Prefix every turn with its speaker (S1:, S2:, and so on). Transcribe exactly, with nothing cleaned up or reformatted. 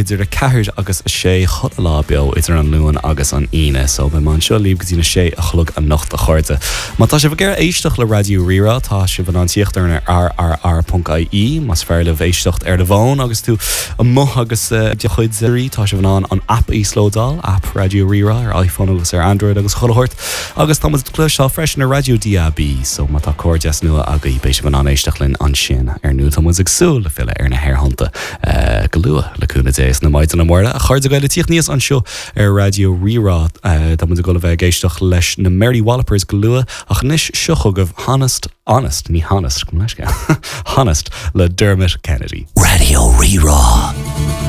S1: Idir a ceathair agus a sé chuile lá beo idir an Luan agus an Aoine, so beidh mé anseo libh go dtí na sé a chlog anocht a chairde. Má tá sibh ag iarraidh éisteacht le Raidió Rí-Rá tá sibh in ann tíocht ar rrr.ie más fearr libh éisteacht ar do fhón agus tú amuigh agus uh, do chuid rí tá sibh in ann an app íoslódáil app Raidió Rí-Rá ar iPhone agus ar Android agus chuile shórt agus tá le cloisteáil freisin ar Raidió DAB, so má tá cairdeas nua agaibh beidh sibh in ann éisteacht linn ansin ar ndóigh tá muid ag súil le filleadh ar na haerthonnta uh, go luath le cúnamh Dé na Maighdine Muire a chairde gaile tíocht níos anseo ar Raidió Rí-Rá Tá muid ag dul a bheith ag éisteacht leis na Mary Wallopers go luath ach anois seo chugaibh Honest Honest ní Honest go leis Honest le Dermot Kennedy.
S2: Raidió Rí-Rá.